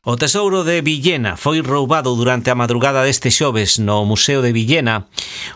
O tesouro de Villena foi roubado durante a madrugada deste xoves no Museo de Villena.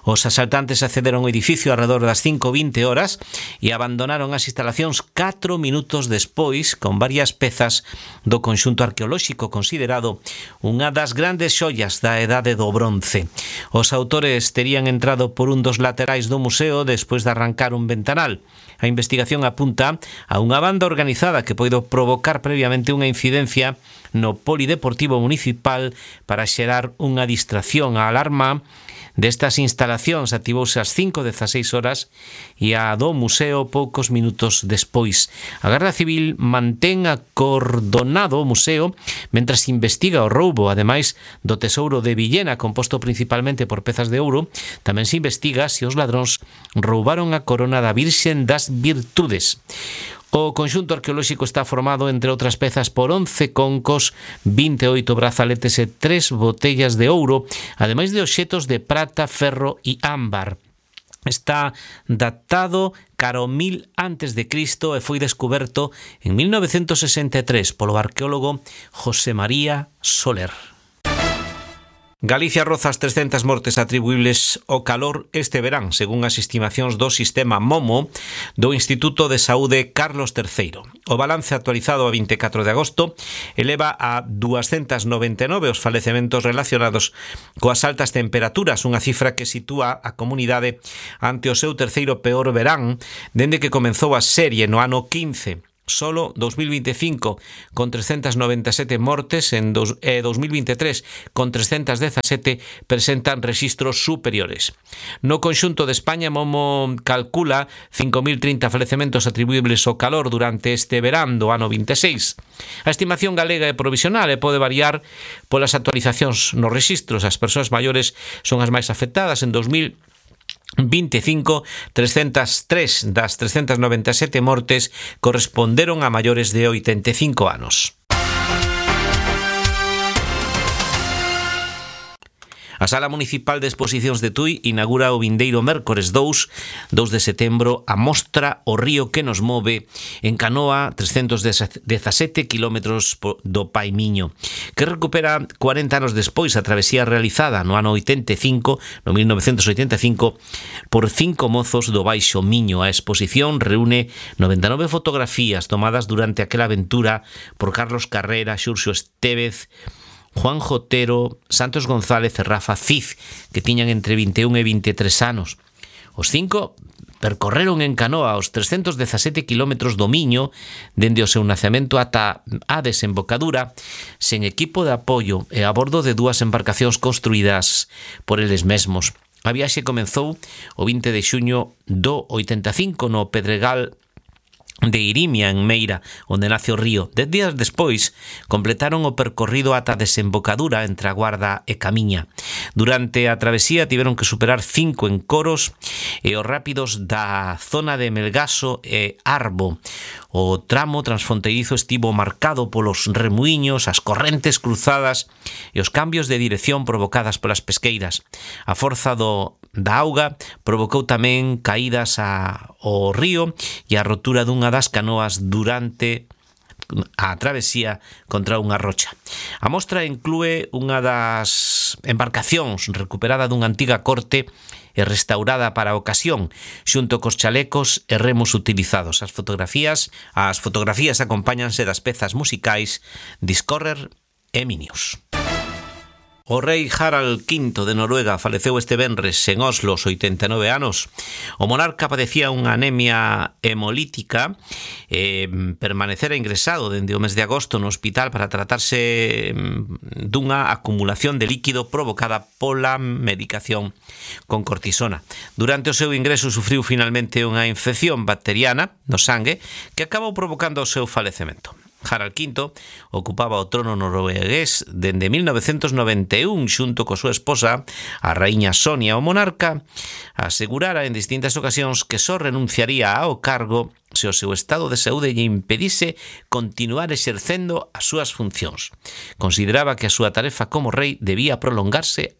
Os asaltantes accederon ao edificio alrededor das 5:20 horas e abandonaron as instalacións 4 minutos despois con varias pezas do conxunto arqueolóxico considerado unha das grandes xoias da Edade do Bronce. Os autores terían entrado por un dos laterais do museo despois de arrancar un ventanal. A investigación apunta a unha banda organizada que poido provocar previamente unha incidencia no polideportivo municipal para xerar unha distracción. A alarma destas instalacións activouse ás 5:16 horas e a do museo poucos minutos despois. A Garda Civil mantén acordonado o museo mentras investiga o roubo. Ademais do tesouro de Villena, composto principalmente por pezas de ouro, tamén se investiga se os ladróns roubaron a corona da Virxen das Virtudes. O conxunto arqueolóxico está formado, entre outras pezas, por 11 concos, 28 brazaletes e 3 botellas de ouro, ademais de obxetos de prata, ferro e ámbar. Está datado cara ao 1000 a.C. e foi descuberto en 1963 polo arqueólogo José María Soler. Galicia roza as 300 mortes atribuíbles ao calor este verán, según as estimacións do sistema MOMO do Instituto de Saúde Carlos III. O balance actualizado a 24 de agosto eleva a 299 os falecementos relacionados coas altas temperaturas, unha cifra que sitúa a comunidade ante o seu terceiro peor verán dende que comenzou a serie no ano 15. Solo 2025 con 397 mortes en 2023 con 317 presentan rexistros superiores. No conxunto de España, MOMO calcula 5.030 falecementos atribuíbles ao calor durante este verán do ano 26. A estimación galega é provisional e pode variar polas actualizacións nos rexistros. As persoas maiores son as máis afectadas. En 2025, 303 das 397 mortes corresponderon a maiores de 85 anos. A Sala Municipal de Exposicións de Tui inaugura o vindeiro mércores 2 de setembro a mostra O río que nos move en canoa 317 kilómetros do Pai Miño, que recupera 40 anos despois a travesía realizada no ano 85, no 1985, por 5 mozos do Baixo Miño. A exposición reúne 99 fotografías tomadas durante aquela aventura por Carlos Carrera, Xurxo Estévez, Juan Jotero, Santos González e Rafa Cid, que tiñan entre 21 e 23 anos. Os 5 percorreron en canoa os 317 kilómetros do Miño dende o seu nacemento ata a desembocadura sen equipo de apoio e a bordo de 2 embarcacións construídas por eles mesmos. A viaxe comezou o 20 de xuño do 85 no Pedregal de Irimia, en Meira, onde nace o río. 10 días despois completaron o percorrido ata a desembocadura entre a Guarda e Camiña. Durante a travesía tiveron que superar 5 encoros e os rápidos da zona de Melgaso e Arbo. O tramo transfronteirizo estivo marcado polos remuiños, as correntes cruzadas e os cambios de dirección provocadas polas pesqueiras. A forza da auga provocou tamén caídas ao río e a rotura dunha das canoas durante a travesía contra unha rocha. A mostra inclúe unha das embarcacións recuperada dunha antiga corte e restaurada para a ocasión, xunto cos chalecos e remos utilizados. As fotografías acompáñanse das pezas musicais Discorrer e Minius. O rei Harald V de Noruega faleceu este venres en Oslo aos 89 anos. O monarca padecía unha anemia hemolítica e permanecera ingresado dende o mes de agosto no hospital para tratarse dunha acumulación de líquido provocada pola medicación con cortisona. Durante o seu ingreso sufriu finalmente unha infección bacteriana no sangue que acabou provocando o seu falecemento. Harald V ocupaba o trono noruegués dende 1991 xunto coa súa esposa, a raíña Sonia. O monarca asegurara en distintas ocasións que só renunciaría ao cargo se o seu estado de saúde lle impedise continuar exercendo as súas funcións. Consideraba que a súa tarefa como rei debía prolongarse